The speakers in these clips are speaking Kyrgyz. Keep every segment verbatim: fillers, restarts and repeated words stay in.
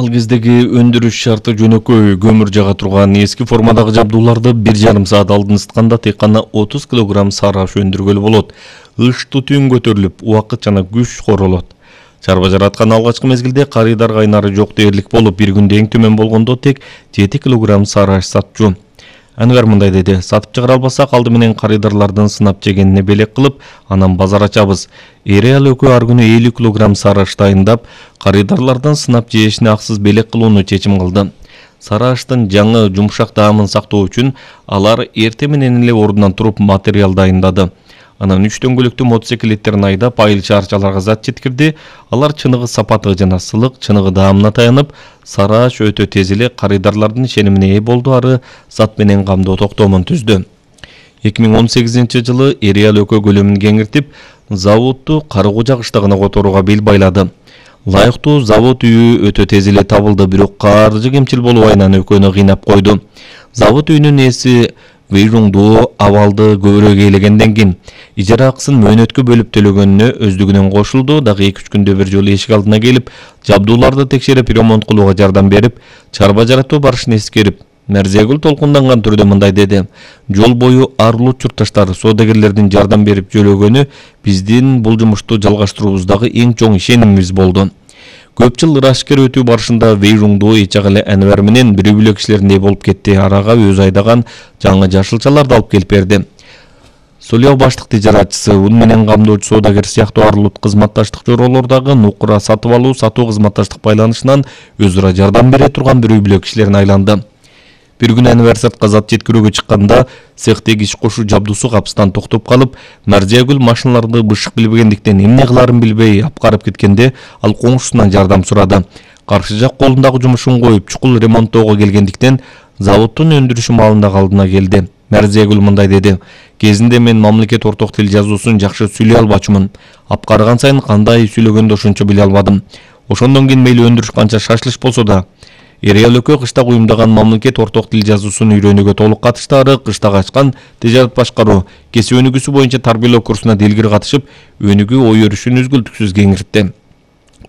Ал кездеги өндүрүш шарты жөнөкөй, көмүр жага турган эски формадагы жабдууларды бир жарым саат алдын ысытканда тек гана отуз килограмм сары аш өндүргөлү болот. Ыш тутун көтөрүлүп, убакыт жана күч королот. Чарба жараткан алгачкы мезгилде карыйдар кайнары жок дээрлик болуп, бир күндө эң төмөн болгондо тек жети килограмм сары аш сатчу. Анвар мындай деди: сатып чыгара албасак, алды менен карыйдарлардын сынап жегенине белек кылып, анан базар ачабыз. Эреал өкө ар күнү элүү килограмм сары аш дайындап, карыйдарлардын сынап жешине аксыз белек кылууну чечим кылды. Сары аштын жаңы жумшак даамын сактоо үчүн алар эртең менен эле ордунан туруп материал дайындады. Анан үч дөңгөлөктүү мотоциклеттерин айдап, айыл шаарчаларга зат жеткирди. Алар чыныгы сапаты жана сылык, чыныгы даамына таянып, сары аш өтө тез эле карыйдарлардын ишенимине ээ болду, ары зат менен камдоо токтомун түздү. эки миң он сегизинчи жылы Эреал өкө көлөмүн кеңиртип, заводду Карыгужа кыштагына которууга бел байлады. Лайыктуу завод үйү өтө тез эле табылды, бирок каржы кемчил болуп айнан өкөнү кыйнап койду. Завод үйүнүн ээси Вэйжуңду абалды көбүрөөк ээлегенден кийин ижара акысын мөөнөткө бөлүп төлөгөнүнө өздүгүнөн кошулду. Дагы эки үч күндө бир жолу эшик алдына келип, жабдууларды текшерип, ремонт кылууга жардам берип, чарба жаратуу барышын эскерип, Мәрзиягүл толкунданган түрдө мындай деди: жол бою арлуу чуртташтар, соодагерлердин жардам берип жөлөгөнү биздин бул жумушту жалгаштыруубуздагы эң чоң ишенимибиз болду. Көп жыл ырашкер өтүү барышында Вэйжуңду эч ак эле Анвар менен бирүү бүлө кишилердей болуп кетти. Арага өзү айдаган жаңы жашылчаларды алып келип берди. Солео баштык тижаратчысы, ун менен камдоочу соодагер сыяктуу арлуу кызматташтык чоролордогу нукура сатып алуу, сатуу кызматташтык байланышынан өз ара жардам бере турган бирүү бүлө кишилерине айланды. Бир күнү Анвар сыртка зат жеткирүүгө чыкканда, цехтеги иш кошуу жабдуусу капыстан токтоп калып, Мәрзиягүл машиналарды бышык билбегендиктен эмне кыларын билбей апкарып кеткенде, ал коңшусунан жардам сурады. Каршы жак колундагы жумушун коюп, чукул ремонттоого келгендиктен заводдун өндүрүшү маалындагы алдына келди. Мәрзиягүл мындай деди: кезинде мен мамлекет орток тил жазуусун жакшы сүйлөй албачумун. Апкарган сайын кандай сүйлөгөндү ошончо биле албадым. Ошондон кийин мейли өндүрүш канча шашылыш болсо да, Эреал өкө кыштак уюмдаган мамлекет орток тил жазуусун үйрөнүүгө толук катышты. Ары кыштак ачкан тижарат башкаруу, кесип өнүгүүсү боюнча тарбиялоо курсуна делгир катышып, өнүгүү ой өрүшүн үзгүлтүксүз кеңиртти.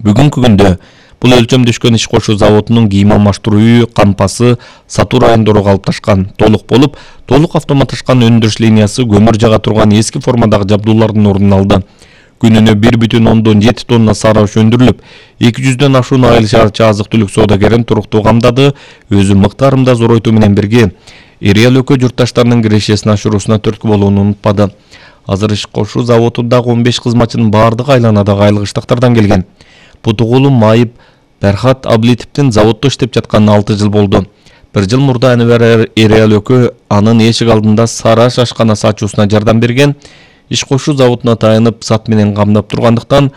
Бүгүнкү күндө бул өлчөмдөшкөн иш кошуу заводунун кийим алмаштыруу үйү, кампасы, сатуу райондору калыпташкан, толук болуп, толук автоматташкан өндүрүш линиясы көмүр жага турган эски формадагы жабдуулардын ордун алды. Күнүнө бир бүтүн ондон жети тонна сары аш өндүрүлүп, эки жүздөн ашуун айыл шаарча азык-түлүк соодагерин туруктуу камдады. Өзү мыктарында зоройтуу менен бирге Эреал өкө журтташтарынын кирешесин ашыруусуна түрткү болууну унутпады. Азыр иш кошуу заводундагы он беш кызматчынын баардыгы айланадагы айыл кыштактардан келген. Бутугулу Майып Берхат Аблитовдун заводдо иштеп жатканына алты жыл болду. Бир жыл мурда Анвар Эреал өкө анын эшик алдында сары аш ашканасы ачуусуна жардам берген. Иш кошуу заводуна таянып, сат менен камдап тургандыктан